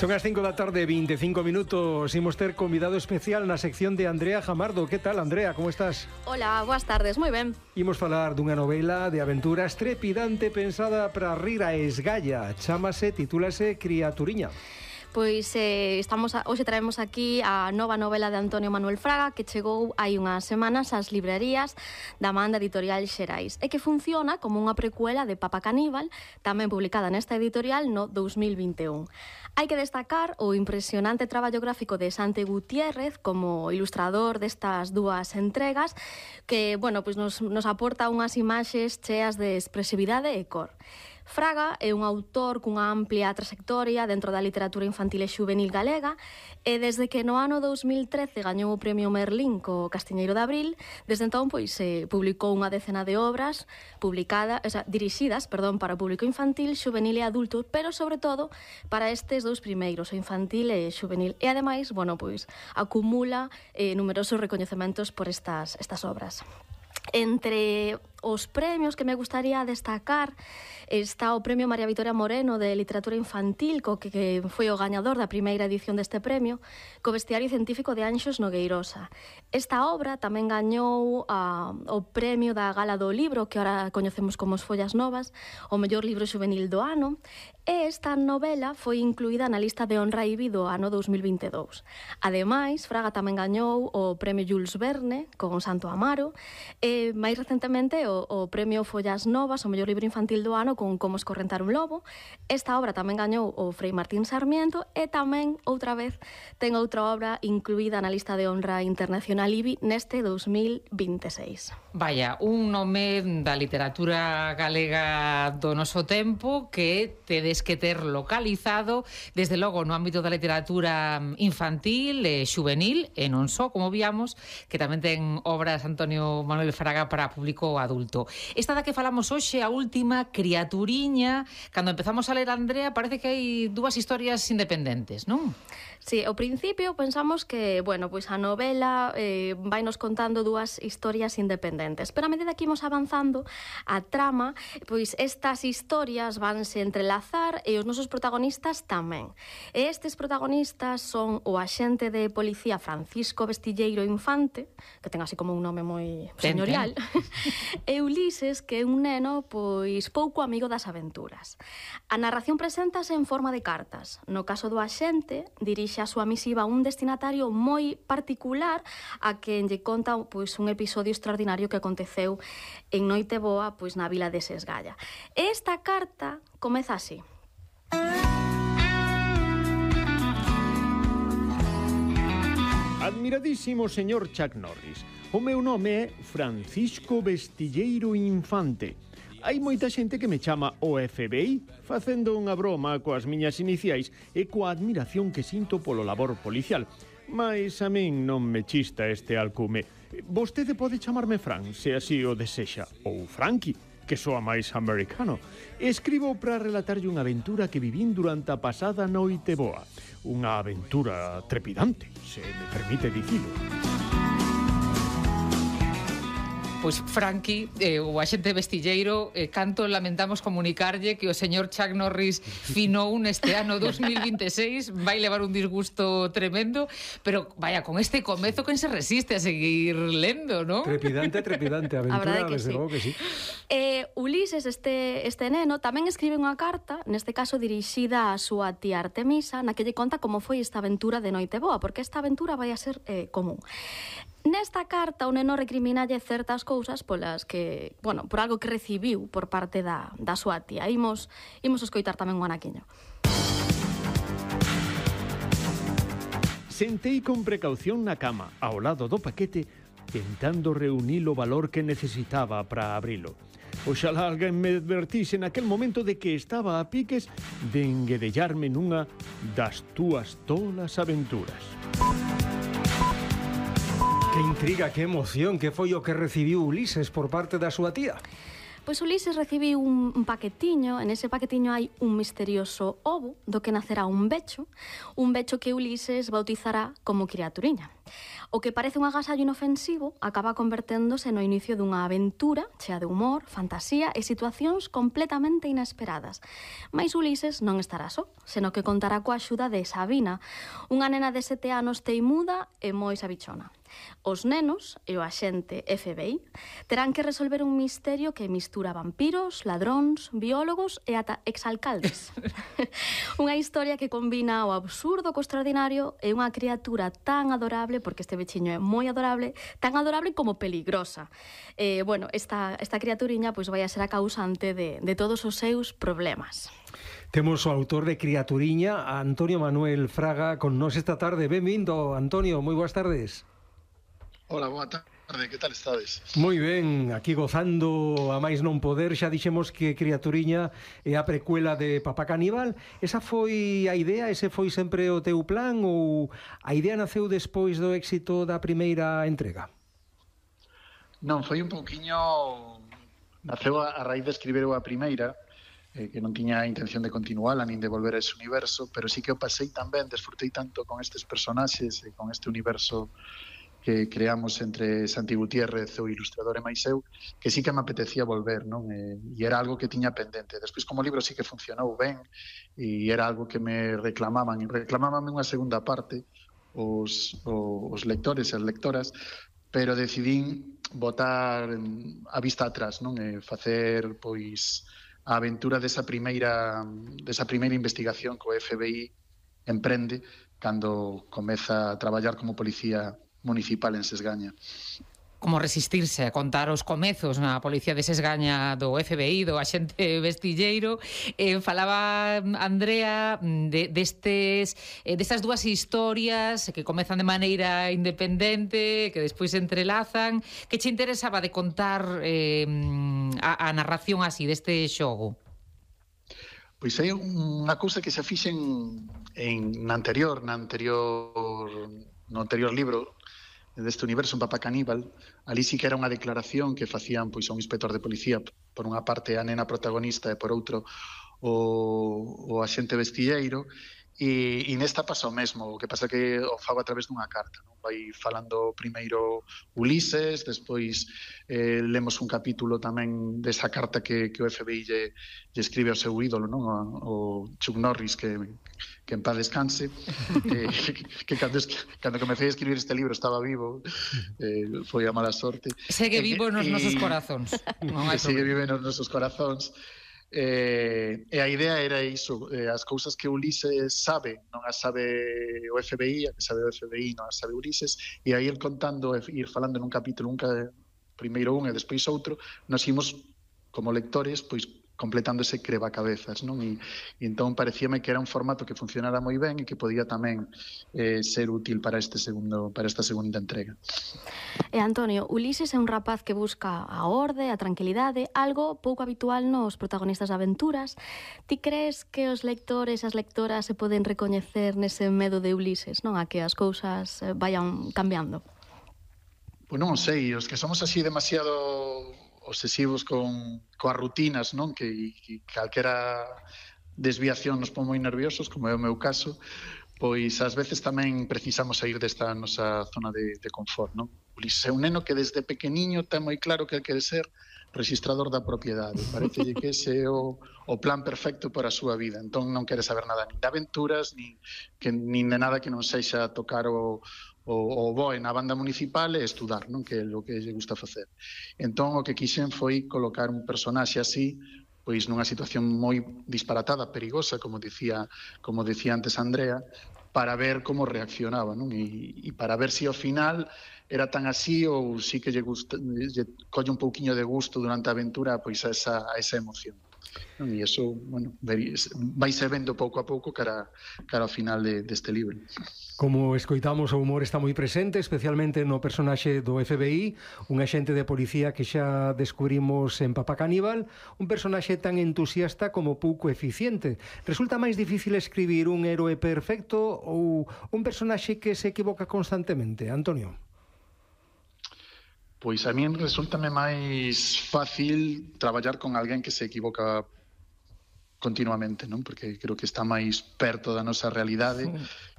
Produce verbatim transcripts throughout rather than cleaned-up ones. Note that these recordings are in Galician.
Son as cinco da tarde, vinte e cinco minutos. Imos ter convidado especial na sección de Andrea Jamardo. Que tal, Andrea? Como estás? Hola, boas tardes, moi ben. Imos falar dunha novela de aventuras trepidante pensada para rir a esgalla. Chámase, titúlase Criaturiña. Pois eh, estamos a, hoxe traemos aquí a nova novela de Antonio Manuel Fraga que chegou hai unhas semanas ás librerías da Manda Editorial Xerais e que funciona como unha precuela de Papa Caníbal, tamén publicada nesta editorial no dous mil vinte e un. Hai que destacar o impresionante traballo gráfico de Sante Gutiérrez como ilustrador destas dúas entregas que, bueno, pois nos, nos aporta unhas imaxes cheas de expresividade e cor. Fraga é un autor cunha amplia trayectoria dentro da literatura infantil e xuvenil galega e desde que no ano dous mil trece gañou o Premio Merlín co Castiñeiro de Abril, desde entón pois se publicou unha decena de obras publicadas, o sea, dirixidas, perdón, para o público infantil, xuvenil e adulto, pero sobre todo para estes dous primeiros, o infantil e xuvenil. E ademais, bueno, pois acumula eh, numerosos recoñecementos por estas estas obras. Entre os premios que me gustaría destacar está o Premio María Victoria Moreno de Literatura Infantil, co que, que foi o gañador da primeira edición deste premio, co Bestiario Científico de Anxos Nogueirosa. Esta obra tamén gañou a, o premio da Gala do Libro, que ahora coñecemos como As Follas Novas, o mellor libro xuvenil do ano, e esta novela foi incluída na lista de honra I B I do ano dous mil vinte e dous. Ademais, Fraga tamén gañou o Premio Jules Verne con Santo Amaro, e máis recentemente o, o Premio Follas Novas, o mellor libro infantil do ano, con Como escorrentar un lobo. Esta obra tamén gañou o Frei Martín Sarmiento e tamén, outra vez, ten outra obra incluída na lista de honra internacional I B I neste dous mil vinte e seis. Vaya, un nome da literatura galega do noso tempo que tedes que ter localizado, desde logo no ámbito da literatura infantil e xuvenil, e non só, como víamos, que tamén ten obras Antonio Manuel Fraga para público adulto. Esta da que falamos hoxe, a última, Criaturiña, cando empezamos a ler, Andrea, parece que hai dúas historias independentes, non? Sí, ao principio pensamos que, bueno, pois a novela eh, vai nos contando dúas historias independentes, pero a medida que imos avanzando a trama, pois estas historias vanse entrelazar e os nosos protagonistas tamén. E estes protagonistas son o axente de policía Francisco Vestilleiro Infante, que ten así como un nome moi señorial, e Ulises, que é un neno pois pouco amigo das aventuras. A narración preséntase en forma de cartas. No caso do axente, dirixe a súa misiva a un destinatario moi particular a quen lle conta pois un episodio extraordinario que aconteceu en Noiteboa, pois na vila de Sesgalla. E esta carta comeza así. Admiradísimo señor Chuck Norris, o meu nome é Francisco Vestilleiro Infante. Hai moita xente que me chama o F B I, facendo unha broma coas miñas iniciais e coa admiración que sinto polo labor policial. Mais a min non me chista este alcume. Vostede pode chamarme Fran, se así o desexa, ou Frankie, que soa máis americano. Escribo para relatarlle unha aventura que vivín durante a pasada noite boa. Unha aventura trepidante, se me permite dicilo. Pois Frankie, eh, o axente Vestilleiro, eh, canto lamentamos comunicarlle que o señor Chuck Norris finou neste ano dous mil vinte e seis, vai levar un disgusto tremendo, pero vaya, con este comezo quen se resiste a seguir lendo, non? Trepidante, trepidante aventura, desde logo que sí. Eh, Ulises, este, este neno, tamén escribe unha carta, neste caso dirixida á súa tía Artemisa, na que lle conta como foi esta aventura de Noiteboa, porque esta aventura vai a ser eh, común. Nesta carta o neno recriminalle certas cousas polas que, bueno, por algo que recibiu por parte da, da súa tía. Imos, imos escoitar tamén un anaquiño. Sentei con precaución na cama, ao lado do paquete, tentando reunir o valor que necesitaba para abrilo. Oxalá alguén me advertise naquel momento de que estaba a piques de enguedellarme nunha das túas tolas aventuras. Que intriga, que emoción, que foi o que recibiu Ulises por parte da súa tía? Pois Ulises recibiu un, un paquetiño, en ese paquetiño hai un misterioso ovo do que nacerá un becho, un becho que Ulises bautizará como criaturiña. O que parece un agasallo inofensivo acaba converténdose no inicio dunha aventura chea de humor, fantasía e situacións completamente inesperadas. Mais Ulises non estará só, senón que contará coa axuda de Sabina, unha nena de sete anos teimuda e moi sabichona. Os nenos e o axente F B I terán que resolver un misterio que mistura vampiros, ladróns, biólogos e ata exalcaldes. Unha historia que combina o absurdo co extraordinario e unha criatura tan adorable, porque este bechiño é moi adorable, tan adorable como peligrosa. Eh, bueno, esta, esta criaturiña pois vai a ser a causante de, de todos os seus problemas. Temos o autor de Criaturiña, Antonio Manuel Fraga, con nós esta tarde. Benvindo, Antonio, moi boas tardes. Hola, boa tarde, que tal estades? Moi ben, aquí gozando a máis non poder. Xa dixemos que Criaturiña é a precuela de Papá Caníbal. Esa foi a idea, ese foi sempre o teu plan, ou a idea naceu despois do éxito da primeira entrega? Non, foi un pouquiño... Naceu a raíz de escribir a primeira, eh, que non tiña a intención de continuala nin de volver a ese universo, pero sí que o pasei tan ben, desfrutei tanto con estes personaxes e con este universo que creamos entre Santi Gutiérrez, o ilustrador e máis eu, que sí que me apetecía volver, non? E, e era algo que tiña pendente. Despois, como libro, sí que funcionou ben, e era algo que me reclamaban, e reclamábanme unha segunda parte os, os lectores e as lectoras, pero decidín botar a vista atrás, non? E facer, pois, a aventura desa primeira, desa primeira investigación que o F B I emprende cando comeza a traballar como policía municipal en Sesgaña. Como resistirse a contar os comezos na Policía de Sesgaña do F B I, do axente Vestilleiro. Eh, falaba Andrea de, destes, eh, destas dúas historias que comezan de maneira independente, que despois se entrelazan. Que che interesaba de contar eh, a, a narración así deste xogo? Pois hai unha cousa que se fixen en, na anterior, na anterior, no anterior libro deste universo, un Papá Caníbal. Ali sí que era unha declaración que facían pois a un inspector de policía, por unha parte a nena protagonista e por outro o, o axente Vestilleiro, e, e nesta pasa o mesmo, o que pasa que o fago a través dunha carta, non? Vai falando primeiro Ulises, despois eh, lemos un capítulo tamén desa carta que, que o F B I lle, lle escribe ao seu ídolo, non? O, o Chuck Norris, que, que en paz descanse, eh, que, que cando, cando comecei a escribir este libro estaba vivo, eh, foi a mala sorte. Segue vivo nos e, nosos corazóns. Non hai segue vivo nos nosos corazóns. Eh, e a idea era iso, eh, as cousas que Ulises sabe non as sabe o F B I, a que sabe o F B I non as sabe Ulises, e aí el contando, ir falando nun capítulo, un primeiro un e despois outro, nos imos como lectores pois completando ese crebacabezas, non? E, e entón parecíame que era un formato que funcionara moi ben e que podía tamén eh, ser útil para este segundo, para esta segunda entrega. E Antonio, Ulises é un rapaz que busca a orde, a tranquilidade, algo pouco habitual nos protagonistas de aventuras. Ti crees que os lectores e as lectoras se poden recoñecer nese medo de Ulises, non? A que as cousas vayan cambiando? Pois non sei, os que somos así demasiado obsesivos con coas rutinas, non? Que, que calquera desviación nos pon moi nerviosos, como é o meu caso, pois ás veces tamén precisamos sair desta nosa zona de, de confort, non? Ulises é un neno que desde pequeniño ten moi claro que quere ser registrador da propiedade. Parecelle que ese é o, o plan perfecto para a súa vida. Entón non quere saber nada nin de aventuras, nin, que, nin de nada que non sexa tocar o o, o boe na banda municipal e estudar, non? Que é o que lle gusta facer. Entón, o que quixen foi colocar un personaxe así, pois nunha situación moi disparatada, perigosa, como dicía, como dicía antes Andrea, para ver como reaccionaba, non? E, e para ver se si ao final era tan así ou si que lle, gusta, lle colle un pouquiño de gusto durante a aventura pois a esa, a esa emoción. Non? E iso, bueno, vai se vendo pouco a pouco cara, cara ao final de, deste libro. Como escoitamos, o humor está moi presente, especialmente no personaxe do F B I, un axente de policía que xa descubrimos en Papá Caníbal, un personaxe tan entusiasta como pouco eficiente. Resulta máis difícil escribir un héroe perfecto ou un personaxe que se equivoca constantemente, Antonio? Pois a min resultame máis fácil traballar con alguén que se equivoca continuamente, non? Porque creo que está máis perto da nosa realidade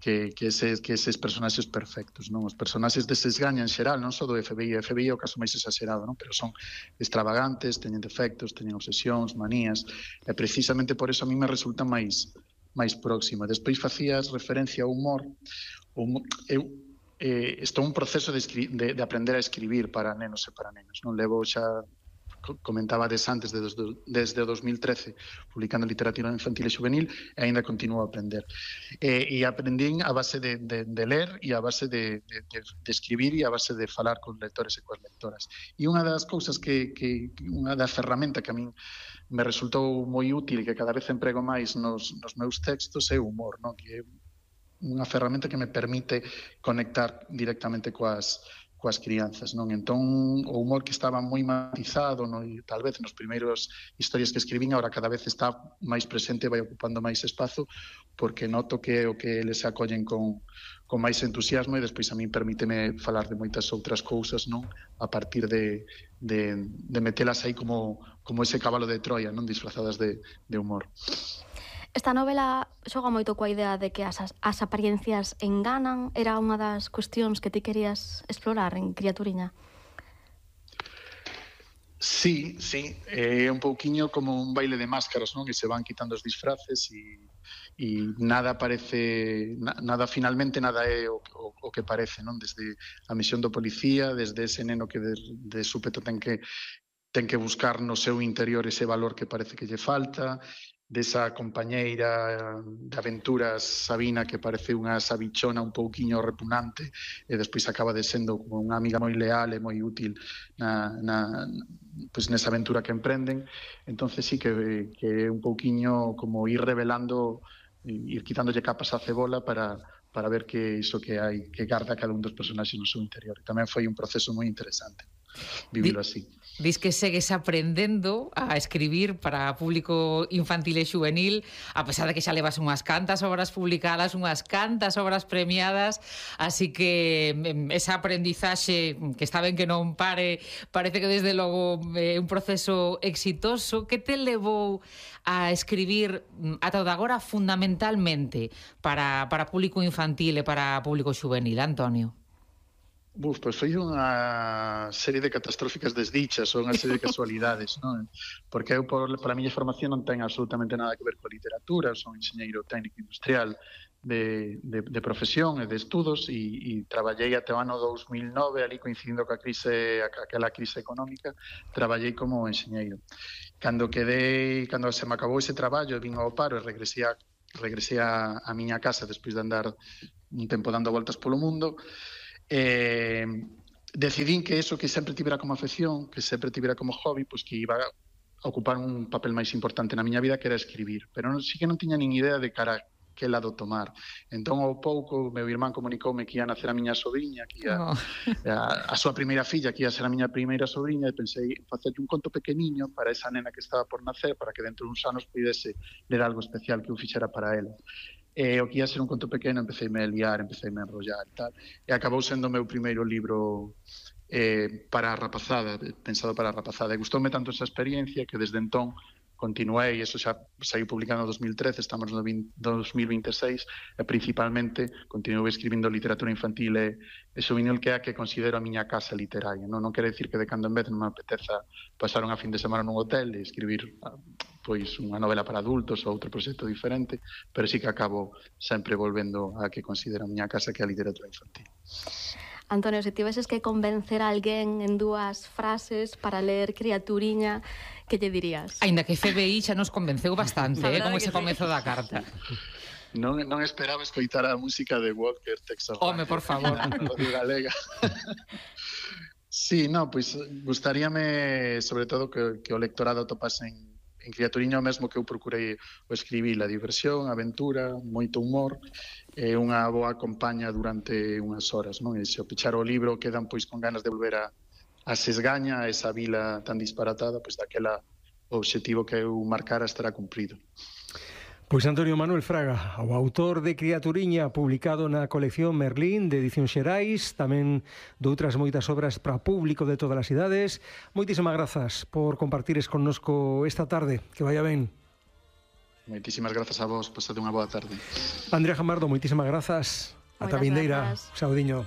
que, que, ese, que eses personaxes perfectos, non? Os personaxes deses gaña en xeral, non só do F B I, o F B I é o caso máis exagerado, non? Pero son extravagantes, teñen defectos, teñen obsesións, manías, e precisamente por eso a mí me resulta máis máis próxima. Despois facías referencia ao humor. O humor eu Eh, estou un proceso de, de, de aprender a escribir para nenos e para nenas. Non levo xa, comentaba des antes, de, de, desde o dos mil trece, publicando literatura infantil e juvenil, e ainda continuo a aprender. Eh, e aprendín a base de, de, de ler e a base de, de, de, de escribir e a base de falar con lectores e coas lectoras. E unha das cousas que, que unha da ferramenta que a min me resultou moi útil e que cada vez emprego máis nos, nos meus textos é o humor, non? Que é unha ferramenta que me permite conectar directamente coas, coas crianzas, non? Entón, o humor que estaba moi matizado, no, e tal vez nos primeiros historias que escribín, agora cada vez está máis presente, vai ocupando máis espazo, porque noto que é o que eles se acollen con, con máis entusiasmo, e despois a mí permíteme falar de moitas outras cousas, non? A partir de, de, de metelas aí como, como ese cabalo de Troia, non? Disfrazadas de, de humor. Esta novela xoga moito coa idea de que as, as apariencias enganan. Era unha das cuestións que ti querías explorar en Criaturiña? Sí, sí, é un pouquiño como un baile de máscaras, non? Que se van quitando os disfraces e, e nada parece, na, nada finalmente nada é o, o, o que parece, non? Desde a misión do policía, desde ese neno que de, de súpeto ten que ten que buscar no seu interior ese valor que parece que lle falta, desa compañeira de aventuras Sabina que parece unha sabichona un pouquiño repugnante e despois acaba de sendo como unha amiga moi leal e moi útil na, na, pues nesa aventura que emprenden. Entonces sí que, que é un pouquiño como ir revelando, ir quitándolle capas á cebola para, para ver que iso que hai, que garda cada un dos personaxes no seu interior. E tamén foi un proceso moi interesante vivilo así. Dis que segues aprendendo a escribir para público infantil e juvenil, a pesar de que xa levas unhas cantas obras publicadas, unhas cantas obras premiadas, así que esa aprendizaxe, que está ben que non pare, parece que desde logo é un proceso exitoso. Que te levou a escribir ata o de agora fundamentalmente para, para público infantil e para público juvenil, Antonio? Buf, pois foi unha serie de catastróficas desdichas ou unha serie de casualidades, non? Porque eu, por, por a miña formación, non ten absolutamente nada que ver coa literatura, son enxeñeiro técnico industrial de, de, de profesión e de estudos e, e traballei até o ano dous mil nove, ali coincidindo coa crise, aquela crise económica, traballei como enxeñeiro. Cando quedei, cando se me acabou ese traballo, vin ao paro e regresei a, regresei a, a miña casa despois de andar un tempo dando voltas polo mundo. Eh, decidín que eso que sempre tivera como afección, que sempre tivera como hobby, pois que iba a ocupar un papel máis importante na miña vida, que era escribir, pero non, sí que non tiña nin idea de cara que lado tomar. Entón, ao pouco, meu irmán comunicoume que ia nacer a miña sobrinha, que ia, oh. a, a súa primeira filla, que ia ser a miña primeira sobrinha, e pensei facer un conto pequeniño para esa nena que estaba por nacer, para que dentro de uns anos pudese ler algo especial que eu fixera para ela. E o que ia ser un conto pequeno, empecé a liar, empecé a enrollar e tal. E acabou sendo o meu primeiro libro eh, para a rapazada, pensado para a rapazada. E gustoume tanto esa experiencia que desde entón continuei, eso xa saí publicado no dos mil trece, estamos no dos mil vinte e seis, e principalmente continuei escribindo literatura infantil e, e juvenil, que é a que considero a miña casa literaria. Non, non quere dicir que de cando en vez non me apeteza pasar unha fin de semana nun hotel e escribir pois unha novela para adultos ou outro proxecto diferente, pero sí que acabo sempre volvendo a que considero a miña casa, que é a literatura infantil. Antonio, se tiveses que convencer a alguén en dúas frases para ler Criaturiña, que lle dirías? Ainda que F B I xa nos convenceu bastante, eh, con ese comezo da carta. Non, non esperaba escoitar a música de Walker, Texas. Home, por favor. Galega. Sí, no, pois gustaríame, sobre todo, que, que o lectorado topase en en Criaturiña o mesmo que eu procurei o escribir, a diversión, a aventura, moito humor, e unha boa compaña durante unhas horas, non? E se o pechar o libro quedan pois con ganas de volver a, a Sesgaña, a esa vila tan disparatada, pois daquela o obxectivo que eu marcara estará cumprido. Pois Antonio Manuel Fraga, o autor de Criaturiña, publicado na colección Merlín de Edición Xerais, tamén de outras moitas obras para público de todas as idades. Moitísimas grazas por compartires connosco esta tarde. Que vaya ben. Moitísimas grazas a vos, pasade unha boa tarde. Andrea Jamardo, moitísimas grazas. Ata vindeira. Saudiño.